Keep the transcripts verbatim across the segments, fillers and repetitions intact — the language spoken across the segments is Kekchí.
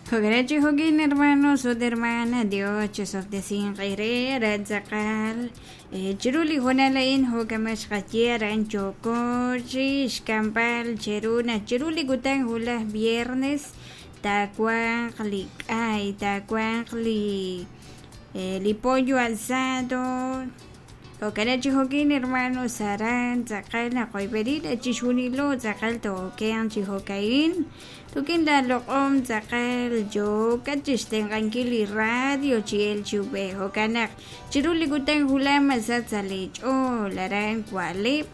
Jo'kan chi jo'kin hermanos ut hermanas Dios chisob'tesinq eere aran tz'aqal chiru li hoonal a'in jo'kama xqaye aran yooko chi xk'amb'al cheru naq chiru li kutan wulaj viernes taawanq li k'ay taawanq li li pollo asado jo'kan chi jo'kin hermanos aran tz'aqal naqoyb'eni chixjunilo tz'aqal tookenq chi jo'ka'in tukin laloq'om tz'aqal yookat chixtenq'ankil li radio chi el chi ub'ej jo'kan naq chiru li kutan wulaj masach sa' li ch'ool aran wa'leb'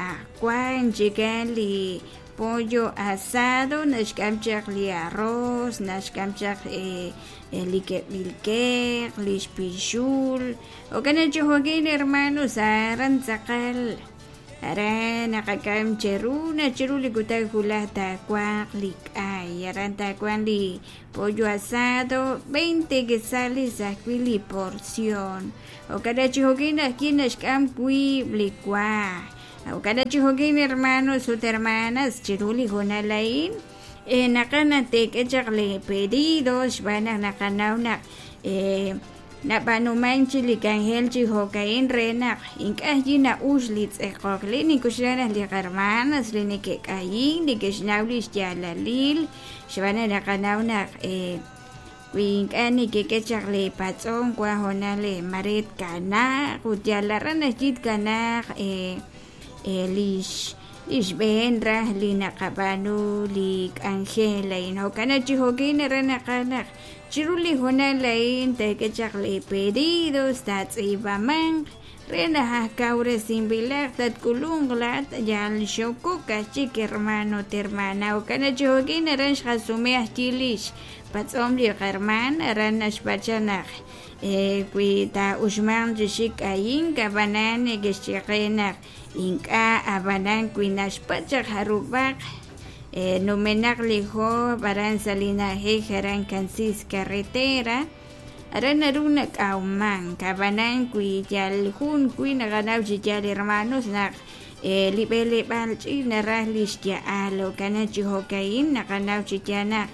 ah wan chikan li pollo asado naxk'am chaq li arroz naxk'am chaq li keb'il keq li xpixul jo'kan chi jo'kin hermanos aran tz'aqal aran naqak'am cheru naq chiru li kutan wulaj taawanq li k'ay aran taawanq li pollo asado veinte quetzales ajwi' li porción jo'kan chi jo'kin ajwi' naxk'am wiib' li wa jo'kan chi jo'kin hermanos ut hermanas chiru li hoonal a'in naqaj naq teek'e chaq li pedidos xb'aan naq naqanaw naq nab'aanuman chi li k'anjel chi jo'ka'in re naq ink'a' ajwi' na'ux li tz'eqok li nikuxlan naq li hermanas li neke'k'ayin neke'xnaw li xyaalalil xb'aan naq naqanaw naq wi ink'a' nekek'e chaq li patz'on wan hoonal maret kanaq ut yal aran ajwi' kanaq lix lix b'een raj li naqab'aanu li k'anjel a'in jo'kan chi jo'kin aran naqaj naq chiru li hoonal a'in teek'e chaq li pedidos taatz'iib'amanq re naq ajkawresinb'ilaq tatk'ulunq laat yal xokok ajchik hermano ut hermana jo'kan chi jo'kin aran xqasume ajwi' lix patz'om li qarman aran naxpacha naq wi taa'uxmanq chi xik k'ayin ab'anan neke'xyeqe naq ink'a' ab'anan wi naxpatz' chaq jarub'aq numenaq li job aran sa' li na'ajej aran Cansis Carretera aran naru nak'awmank ab'anan wi yal jun wi naqanaw chi yaal hermanos naq li b'eleb'aal ch'iich' naraj li xya'al jo'kan chi jo'ka'in naqanaw chi yaal naq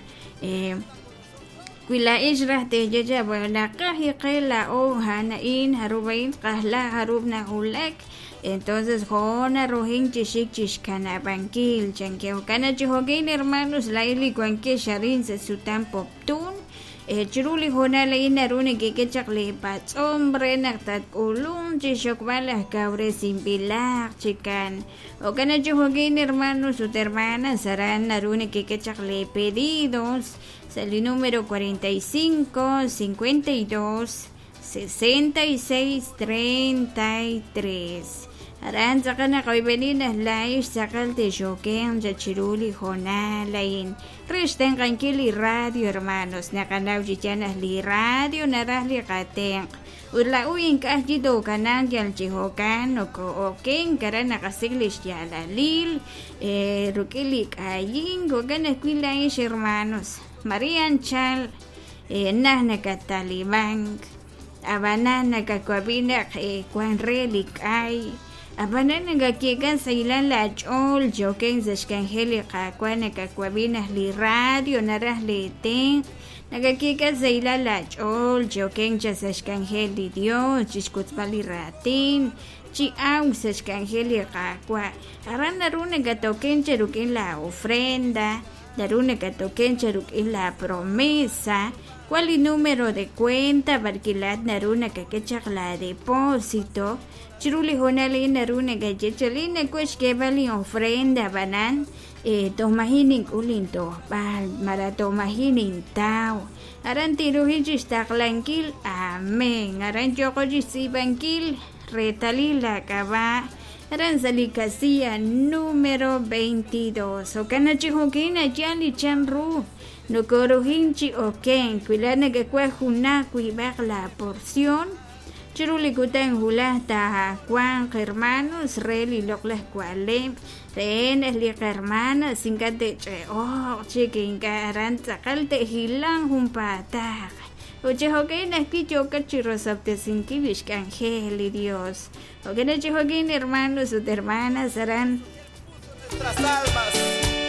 wi laa'ex raj teeyecha bueno naqaj iqe la'o ja'an jarub'ain qajla jarub' najulak entonces jo'na rujin chi xik chixkanab'ankil chanke jo'kan chi jo'kin hermanos la'in li wankex arin sa' sutam Poptún chiru li hoonal a'in naru nekek'e chaq li patz'om re naq tatk'ulunq chi xokb'al ajkawresinb'ilaq chikan jo'kan chi jo'kin hermanos ut hermanas aran naru nekek'e chaq li pedidos sa' li número cuarenta y cinco, cincuenta y dos, sesenta y seis, treinta y tres aran tz'aqal naqoyb'eni naq la'ex tz'aqal texokenq chiru li hoonal a'in re xtenq'ankil li radio hermanos naqanaw chi yaal naq li radio naraj li qatenq' ut la'u ink'a' ajwi' tookanaq yal chi jo'kan nokoo'okenk aran naqasik' li xyaalalil ruk'in li k'ayin jo'kan ajwi' la'ex hermanos María Anchal naj nakatalibank ab'anan nakawab'i naq wan re li k'ay ab'anan nakakyekan saylan lach'ool choken sa' xk'anjel li qaawa' nakawab'i naq li radio naraj li tenq' nakakyekan saylan lach'ool choken cha sa' xk'anjel li Dios chixkutzb'al li raatin chi awk sa' xk'anjel li qaawa' aran naru nakatoken cha ruk'in la ofrenda naru nakatoken cha ruk'in la promesa cuál el número de cuenta barquilat naru nakak'e chaq la depósito chiru li hoonal a'in naru nakaye chalin nakuex xk'eeb'al li ofrenda ab'anan toj maji' nink'ul intojb'al mara toj maji' nintaw aran tinrujin chixtaqlankil amén aran yooqo chixtz'iib'ankil reetalil lak'ab'a' aran sa' li casilla número veintidós jo'kan chi jo'kin ayal li chan ru nokorujin chi okenk wi la nakak'uaj junaq wiib'aq la porción chiru li kutan wulaj taawanq hermanos re li loq'laj wa'leb' re naq li qarmanas ink'a' te'ch'e'oq chik ink'a' aran tz'aqal te'jilan junpaataq ut chi jo'kan ajwi' yookat chi rosob'tesinkil li xk'anjel li Dios jo'kan chi jo'kin hermanos ut hermanas aran nuestras almas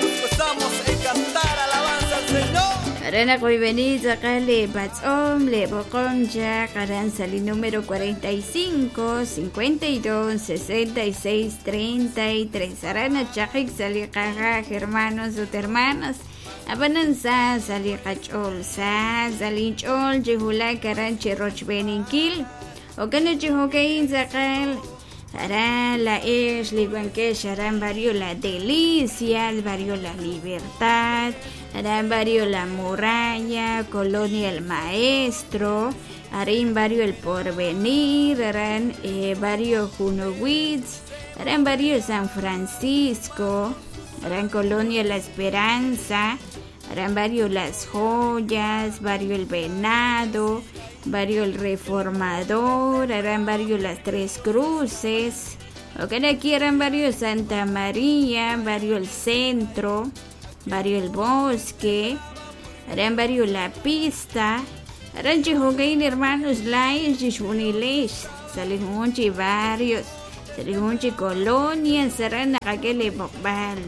nos gozamos en cantar alabanza al Señor. Aran naqoyb'eni tz'aqal le patz'om le b'oqom chaq aran sa li número cuarenta y cinco, cincuenta y dos, sesenta y seis, treinta y tres. Aran nachaqik sa li qajaj hermanos ut hermanas. Ab'anan sa sa li qach'ool sa sa linch'ool chi wulak aran chi rochb'eninkil. Jo'kan chi jo'ka'in tz'aqal aran la ex li wankex aran barrio La Delicia, barrio La Libertad, aran barrio La Muralla, Colonia El Maestro, arin barrio El Porvenir, aran eh, barrio Junowitz, aran barrio San Francisco, aran Colonia La Esperanza, aran barrio Las Joyas, barrio El Venado, barrio El Reformador, aran barrio Las Tres Cruces, ok, aquí aran barrio Santa María, barrio El Centro, barrio El Bosque, aran barrio La Pista, aran chi jo'kain hermanos laa'ex chixjunilex sa' li junjun chi barrios, sa' li junjun chi colonias, aran naqak'e li b'oqb'al,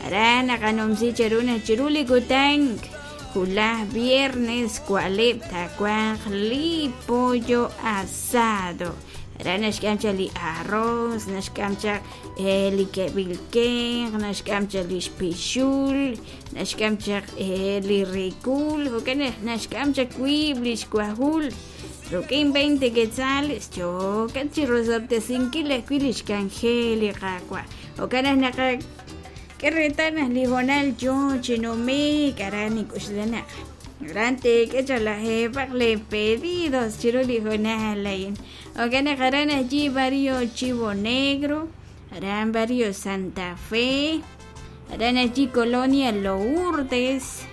aran naqanumsi cheru naq chiru li kutan wulaj viernes wa'leb' taawanq li pollo asado. Aran naxk'am chaq li arroz, naxk'am chaq eh, li ke'b'il kenq, naxk'am chaq li xpixul, naxk'am chaq eh, li rikul, jo'kan naxk'am chaq wiib' li xwajul. Ruk'in veinte quetzales, yo'kan chi rosob'tesinkil ajwi' li xk'anjel li Qaawa'. Jo'kan naq naqak'e reetal naq li hoonal yoo chi numik, aran nink'uxla naq aran teek'e chaq lajeeb'aq le pedidos chiru li hoonal a'in. Jo'kan naq aran allí barrio Chivo Negro, aran barrio Santa Fe, aran allí Colonia Lourdes,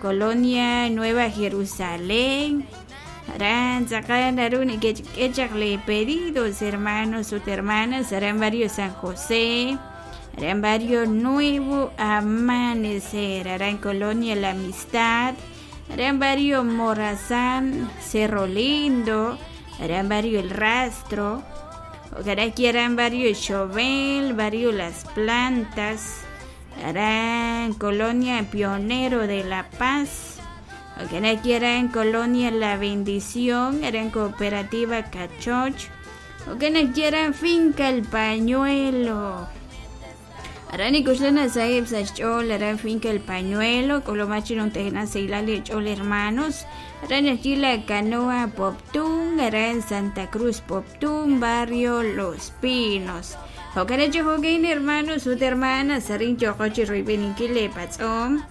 Colonia Nueva Jerusalén, aran tz'aqal naru nekechk'e chaq le pedidos hermanos ut hermanas, aran barrio San José, aran barrio Nuevo Amanecer, aran Colonia La Amistad, aran barrio Morazán, Cerro Lindo, aran barrio El Rastro, aquí aran barrio Chauvel, barrio Las Plantas, aran Colonia Pionero de la Paz, aquí aran Colonia La Bendición, aran Cooperativa Cachoch, aquí aran Finca El Pañuelo. Aran ikuxlana sahib sa xch'ool aran Finca El Pañuelo, k'ulumach chiruntejna seilal xch'ool hermanos, aran allí La Canoa Poptún, aran Santa Cruz Poptún, barrio Los Pinos. Jo'kan chi jo'kan hermanos ut hermanas, arin yo'qo chi royb'eninkil le patz'om,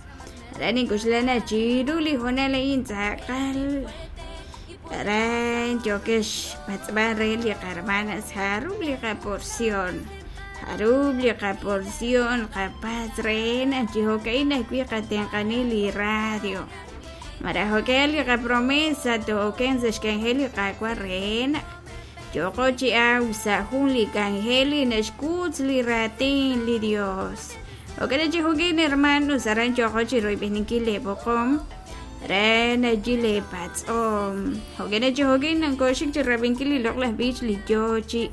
aran ikuxlana chiru li hoonal a'in tz'aqal, aran yo'kex patz'b'al re li qarmanas jarub' li qaporción. Jarub' li qaporción qapatz re naq chi jo'ka'in ajwi' qatenq'anil li radio. Maraj jo'kan li qapromesa to'oken sa' xk'anjel li Qaawa' re naq yo'qo chi aw sa' jun li k'anjel li naxkutz li raatin li Dios. Jo'kan chi jo'kan hermanos aran yo'qo chi royb'eninkil le b'oqom ran allí le patz'om. Jo'kan chi jo'kan nankoxik chi rab'inkil li loq'laj b'ich li yoo chi